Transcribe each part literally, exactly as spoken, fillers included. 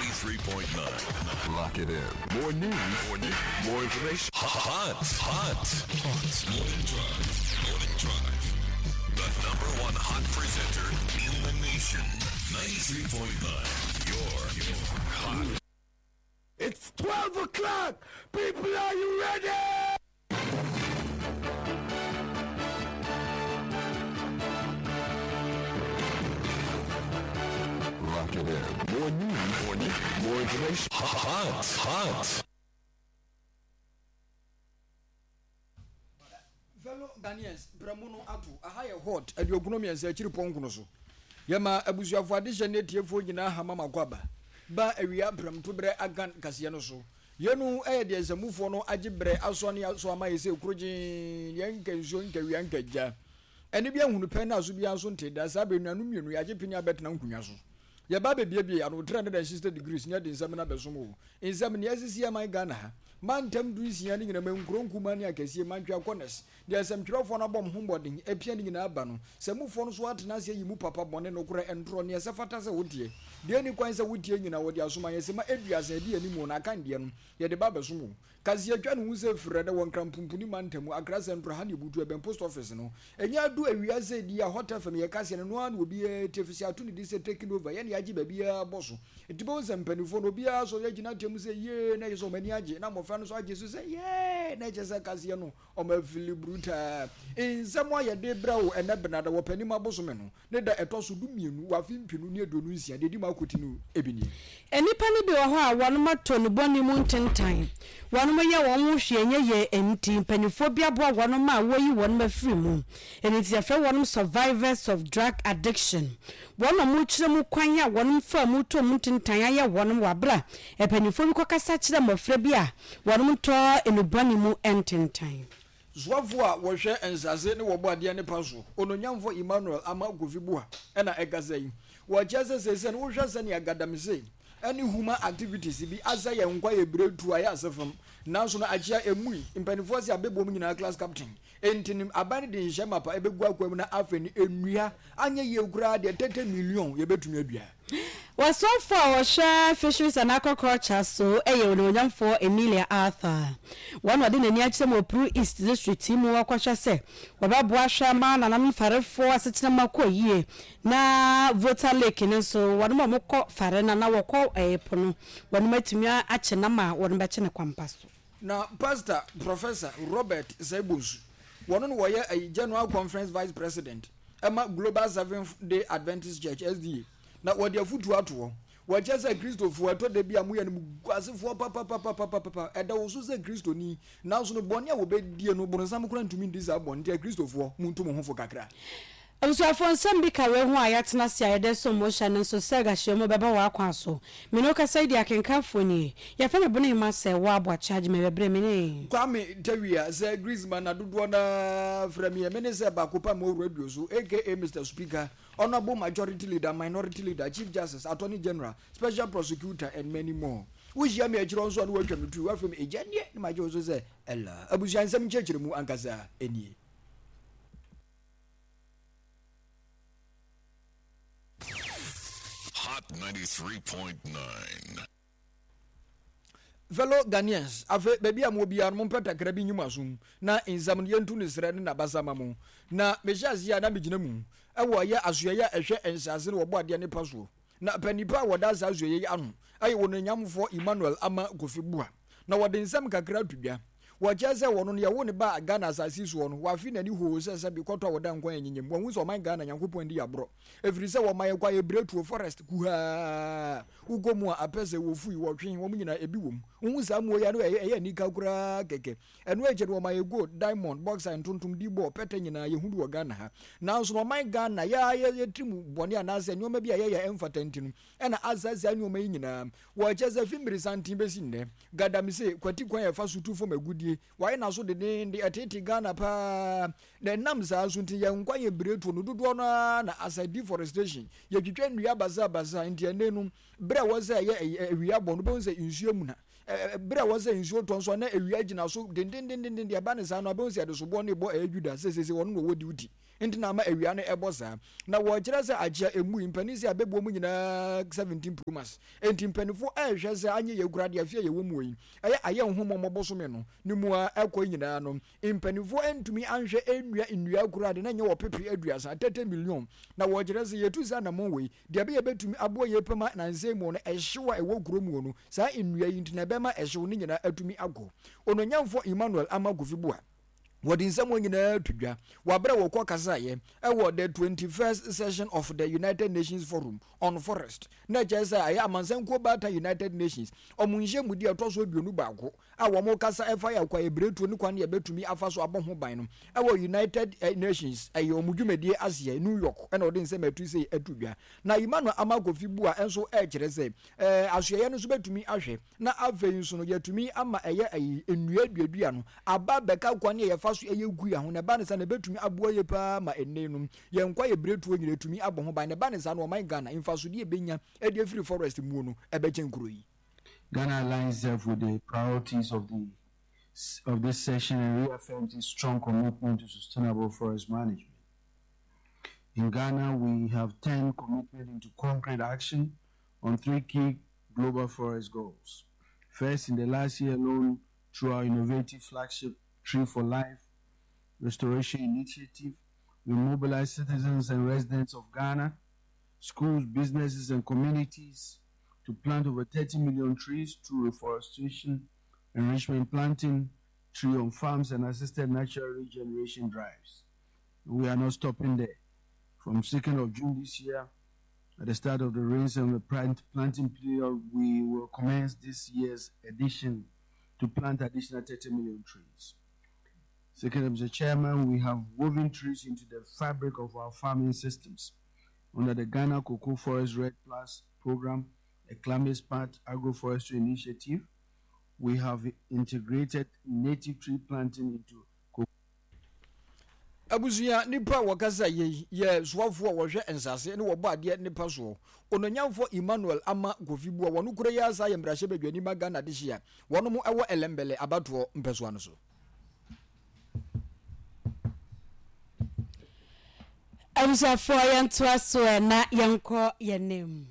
Ninety-three point nine. Lock it in. More news. More news. More information. Hot, hot, hot. Morning Drive. Morning Drive. The number one hot presenter in the nation. Ninety-three point nine. Your, your hot. It's twelve o'clock. People, are you ready? Lock it in. More news. More news. More information. Hot, hot. Fellow Ghanaians, brɛmo no ato aha yɛ hot aduokunu mmiɛnsa akyiri pɔnkono so. Yɛma abusuafo adehyɛ ne atiefoɔ nyinaa hama mako aba. Ba awia prɛmto berɛ agan kaseɛ no so. Yɛnu ɛyɛ deɛ nsamufoɔ no agye berɛ asoa ne aso ama yɛ sɛ kuro gyee yɛn nka nsuo nka wia nka gya. Ɛne bi ahunu pɛ na aso biara nso nte da saa bere nuanom mmienu yɛagye pini abɛtena nkonnwa so. Yɛba bɛbiebie ano three hundred and sixty degrees ne yɛde nsɛm no abɛsom wo. Nsɛm nea asisi aman Ghana ha. Mantam du nsia ne nyinam nkuro nkumaa ne akɛseɛ mantwea corners. Deɛ nsɛmtwerɛfoɔ no abɔ mo ho mmɔden apia ne nyinaa aba no, sɛ mufoɔ no so atena ase ayi mu papa, bɔne, nokorɛ, ntorɔ, neɛ ɛsɛ fata sɛ woteɛ, deɛ ɛnni kwan sɛ wotie nyinaa wɔde asoma yɛn sɛ ma aduasa adi anim no akan deɛ no yɛde ba abɛsom wo. Kaseɛ atwa ne ho sɛ firɛ dɛ wɔ Nkran-Pumpuni mantam Accra Central ha ne Ebutu ɛbɛn post office no. Ɛnyɛ adu awia sɛ di a Hot F M yɛ kaseɛ no no ara na obiara tie firi sɛ ato ne din sɛ taking over yɛne yɛagye baabiara bɔ so. Nti bɛhu sɛ mpanimfoɔ no obiara sɔre agyina ateam sɛ yee na ɛkyɛ sɛ wɔn ani agye na mmɔfra no nso agye so sɛ yee na ɛkyɛ sɛ kaseɛ no wɔn afili brutaa. Nsɛm a yɛde brɛ wo ɛnɛ benada wɔ panim abosome no ne da ɛtɔ so du mmienu wɔ afe mpenu ne aduonu nsia deɛ ɛdi mu akɔti no ebi nie. Nnipa no bi wɔ hɔ a wɔnom atɔ nnubɔne mu ntentan. Wɔnom yɛ wɔn ho hwee nyɛ yie nti mpanimfoɔ bi aboa wɔnom a wɔyi wɔnom afiri mu. Ɛno nti yɛfrɛ wɔnom survivors of drug addiction. Wɔn a wɔkyerɛ mu kwan a wɔnom fa mu tɔ mu ntentan ayɛ wɔnom wɔ abera mpanimfoɔ bi kɔkasa kyerɛ mmɔfra bi a wɔnom tɔ nnubɔne mu ntentan. Soafo a wɔhwɛ nsase ne wɔbɔ adeɛ ne pa so ononyamfo Emmanuel Ama Kofi Buah ɛna ɛkasa yi. Wɔkyerɛ sɛ seesei no wohwɛ sɛnea galamsey ɛne human activities bi asɛ yɛn nkwa yɛ bere tu ayɛ ase fam. Nanso no akyea emui mpanimfoɔ sɛ abɛbom nyinaa class captain. Enti no aban no de nhyɛ mapa ɛbɛgu akwa mu na afei no nnua anyɛ yie koraa deɛ thirty million yɛbɛtumi adua. Wɔsɔfo a wɔhwɛ Fisheries and Aquaculture so ɛyɛ ononyamfoɔ Emilia Arthur. Wɔn a ɔde n'ani akyerɛ mu wɔ Pru East District mu wɔkɔhwɛ sɛ wɔbɛboa hwɛ ama nananom farefoɔ asetena mu akɔ yie na Volta Lake no nso wɔn a wɔkɔ fare no na wɔkɔ ɛɛ po no wɔn atumi akye nam a wɔn bɛkye ne kwampa so. Na Pastor Professor Robert Seibosu wɔn no wɔyɛ ɛyi General Conference Vice President ɛma Global Seventh Day Adventist Church S D A na wɔde afutuo ato hɔ. Wɔkyerɛ sɛ Kristofoɔ ɛtɔ da bi a moyɛ no guasefoɔ papapapapapa ɛda wo so sɛ Kristoni nanso no bɔne a wɔbɛdie no boronsam koraa ntumi ndi saa bɔne nti Kristofoɔ montu mo ho fo kakra. Abusuafoɔ nsɛm bi ka wei ho a yɛatena ase a yɛde som mo hyɛ no nso sɛ gahyia mu bɛba wɔ akwan so. Me ne wo kasa yi de akenkanfoɔ nie. Yɛfrɛ me bone ma sɛ wɔ aboakye agye me bɛbrɛ me ne. Kwame Tawia sɛ Griezmann na dodoɔ na frɛ me me ne sɛ baako pa mo radio so aka Mister Speaker, Honorable Majority Leader, Minority Leader, Chief Justice, Attorney General, Special Prosecutor and many more. Wohyia me akyirɛ nso a na wɔatwa me tu wafrɛ me agya neɛ ne magye wo so sɛ ɛla. Abusua nsɛm nkyerɛkyerɛ mu ankasa nie. Hot ninety-three point nine. Fellow Ghanaians, afe baabi a mo biara no mompɛ takra bi nyi mo asom na nsɛm no yɛntu ne serɛ ne n'abasa ma mo. Na mehyɛ aseɛ a na megyina mu ɛwɔ ɛyɛ asoɛeɛ a ɛhwɛ nsase no wɔbɔ adeɛ ne pa soɔ. Na panipa a wɔda saa asoɛeɛ yi ano ɛyɛ wɔn anyamfoɔ Emmanuel Ama Kofi Buah. Na wɔde nsɛm kakra to dwa. Wɔkyerɛ sɛ wɔn no yɛwo ne ba Ghana asase soɔ no wafe n'ani hoo sɛ sɛ bi kɔtɔ a wɔda nkwan anyinyam. Wɔn sɛ ɔman Ghana Nyankopɔn di aborɔ. Ɛfiri sɛ wɔma yɛ kwa yɛ tuo forest kuhaa. Wokɔ mu a apɛ sɛ wɔfui wɔtwe wɔn nyinaa ebi wɔ mu. Wohu saa mmoa yi ano ɛyɛ ɛyɛ anika koraa kɛkɛ. Ɛno akyi no wɔma yɛ gold, diamond, bauxite, ntontom, dibɔ, pɛtɛ nyinaa yɛhu bi wɔ Ghana ha. Nanso no ɔman Ghana yɛ yɛ yɛtiri mu bɔne anaasɛ nneɛma bi a yɛyɛ ɛmfata nti no ɛna asɛe saa nneɛma yi nyinaa. Wɔkyerɛ sɛ fi mmirisanten bɛsi nnɛ. Galamsey kwati kwan a ɛfa so tu fam agudie. Wɔayɛ n'aso dendeenden ɛtete Ghana paa. Na ɛnam saa so nti yɛn nkwa yɛ biretuo no dodoɔ no ara na asɛ deforestation. Yɛtwitwa nnua basabasa nti ɛnɛ no berɛ a wɔsɛ ɛyɛ awia bɔ no bɛhu sɛ nsuo mu na berɛ a wɔsɛ nsuo tɔ nso na awia gyina so dendendenden deɛ ɛba ne saa no abɛhu sɛ yɛde soboɔ ne bɔ ɛyɛ Juda sɛ sɛ wɔn na wɔwɔ duty. Nti na ama awia no ɛbɔ saa. Na wɔkyerɛ sɛ akyea emu yi mpanin sɛ abɛbuo mu nyinaa seventeen Pro Max. Nti mpanimfoɔ ɛrehwɛ sɛ anyɛ yɛ kura deɛ afie a yɛwɔ mu yi ɛyɛ ayɛ nhomɔ bosome no ne mu a ɛkɔ nyinaa no, mpanimfoɔ ntumi anhwɛ nnua nnua kura de na nyɛ wɔ pepe aduasa thirty million. Na wɔkyerɛ sɛ yɛtu saa anammɔn wei deɛ ɛbɛyɛ bɛtumi aboa yɛ pɛma nansɛn mu no ɛhyew a ɛwɔ kuro mu no, saa nnua yi nti na ɛbɛma ɛhyew no nyinaa atumi akɔ. Ononyamfoɔ Emmanuel Ama Kofi Buah wɔde nsɛm wɔn nyinaa to dwa wɔabrɛ wɔkɔ kasaeɛ ɛwɔ the twenty-first session of the United Nations Forum on Forest, na kyerɛ sɛ ɛyɛ amansankuo baata United Nations ɔmo nhyɛ mu di ɛtɔ so aduonu baako a wɔn kasa ɛfa yɛ akwa ebiretuo ne kwan yɛ bɛtumi afa so abɔ ho ban no ɛwɔ United Nations, ɛyɛ ɔmo dwumadie aseɛ New York, ɛna ɔde nsɛm ɛtu sɛ ɛtu dwa. Na Emmanuel Ama Kofi Buah nso ɛkyerɛ sɛ ɛɛ asoɛyɛ no nso bɛtumi ahwɛ na afei nso no yɛtumi ama ɛyɛ ɛyi nnua duadua no aba bɛka kwan yɛ yɛfa so ɛyɛ gu yɛn ho, na ɛba ne sa na ɛbɛtumi aboa yɛ paa ma ɛnɛ no yɛn nkwa yɛ biretuo nyina ɛtumi abɔ ho ban, na ɛba ne sa no ɔman Ghana mfasodeɛ ɛbɛnya ɛde afiri forest mu no ɛbɛkyɛn kuro yi. Ghana aligns itself with the priorities of the of this session and reaffirms its strong commitment to sustainable forest management. In Ghana, we have turned commitment into concrete action on three key global forest goals. First, in the last year alone, through our innovative flagship Tree for Life Restoration Initiative, we mobilized citizens and residents of Ghana, schools, businesses, and communities to plant over thirty million trees through reforestation, enrichment planting, tree on farms, and assisted natural regeneration drives. We are not stopping there. From second of June this year, at the start of the rains and the plant planting period, we will commence this year's edition to plant additional thirty million trees. Second, Mister Chairman, we have woven trees into the fabric of our farming systems. Under the Ghana Cocoa Forest REDD Plus program, a climate smart agroforestry initiative, we have integrated native tree planting into cocoa. Abusua nipa a wɔkasa yɛ yɛ soafoɔ a wɔhwɛ nsase ne wɔbɔ adeɛ nipa soɔ, Ononyamfoɔ Emmanuel Ama Kofi Buah, wɔn kura yi asa yɛ mmarahyɛ badwani ma Ghana de hyia wɔn mo ɛwɔ Ellembelle abatoɔ mpɛsoa no so. Abusuafoɔ, yɛntoa so na yɛnkɔ yɛn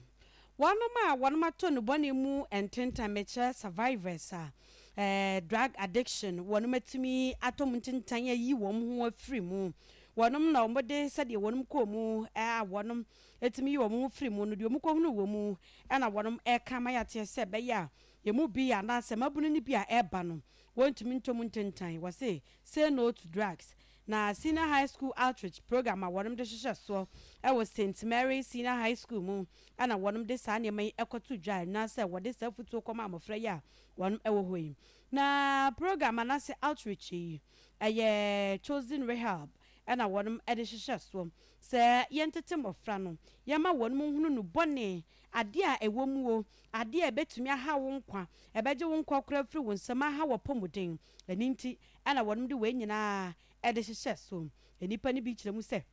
wɔnom a wɔnom ato no bɔne mu ntentan, mekyerɛ survivors a eh, drug addiction wɔnom atumi atɔ mu ntentan ayi wɔn ho afiri mu, wɔnom na wɔde sɛdeɛ wɔnom kɔɔ mu a wɔnom atumi yi wɔn ho firi mu no deɛ wɔn kɔhunu wɔ mu, ɛna wɔnom ɛka ma yɛateɛ sɛ ɛbɛyɛ a yɛmu bi anaasɛ mabunu no bi a ɛreba no wɔntumi ntɔ mu ntentan. Wɔse say no to drugs. Na senior high school outreach program a wɔnom de hyehyɛ soɔ ɛwɔ Saint Mary Senior High School mu, ɛna wɔnom de saa nneɛma yi ɛkɔto dwa anaasɛ wɔde saa futuo kɔma mmɔfra yi a wɔnom ɛwɔ hɔ yi. Na program anaasɛ outreach yi ɛyɛ Chosen Rehab ɛna wɔnom ɛde hyehyɛ soɔ sɛ yɛntete mmɔfra no, yɛma wɔnom hunu no bɔne adeɛ a ɛwɔ mu o, adeɛ a ɛbɛtumi aha wo nkwa, ɛbɛgye wo nkwa koraa firi wo nsam, aha wɔ pɔmuden. Ɛno nti ɛna wɔnom de wei nyinaa ɛde hyehyɛ so. Nnipa no bi kyerɛ mu sɛ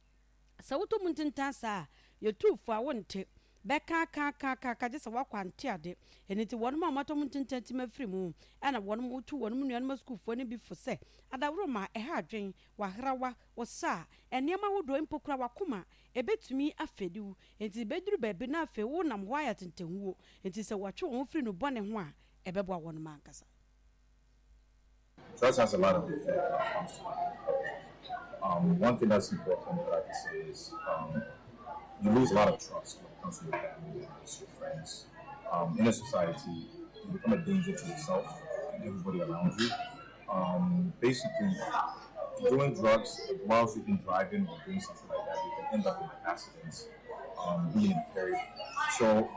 sɛ wotɔ mu ntentan saa a yɛtu fo a wonte bɛka ka ka ka ka gye sɛ woakɔ ante ade. Ɛno nti wɔnom a wɔatɔ mu ntentan tim afiri mu ɛna wɔnom wotu wɔnom nuanom asukuufoɔ no bi fo sɛ adaworo ma ɛha adwen wahrawa wo sa a nneɛma ahodoɔ mpo kora wakoma ɛbɛtumi afɛdi wo, nti bɛduru baabi na afei wonam hɔ ayɛ tentenwuo. Nti sɛ wɔatwe wɔn ho firi no bɔne ho a ɛbɛboa wɔnom ankasa. Drugs has a lot of effect when it comes to health. Um, one thing that's important that I can say is um, you lose a lot of trust when it comes to your family members, your friends. Um, in a society, you become a danger to yourself and everybody around you. Um, basically, doing drugs whilst you've been driving or doing something like that, you can end up in accidents, um, being impaired. So,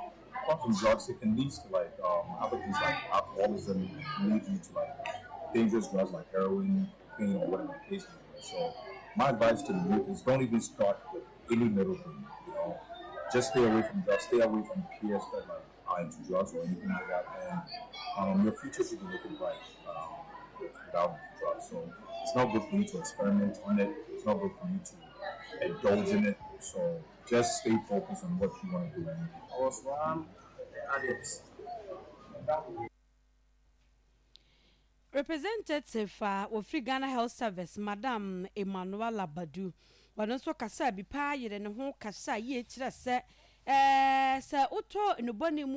apart from drugs, it can lead to like um, other things like alcoholism, can lead you to like dangerous drugs like heroin, cocaine, or whatever the case may be. So, my advice to the youth is don't even start with any little thing. You know, just stay away from drugs, stay away from peers that like are into drugs or anything like that, and um, your future should be looking bright um, without drugs. So it's not good for you to experiment on it. It's not good for you to indulge in it. So just stay focused on what you want to do. I was one of the addicts. Representative a uh, wɔfiri Ghana Health Service, Madam Emmanuela Badu, Ɔno nso kasa bi paa yere ne ho kasa yie kyerɛ sɛ ɛɛ sɛ wotɔ nnubɔne mu.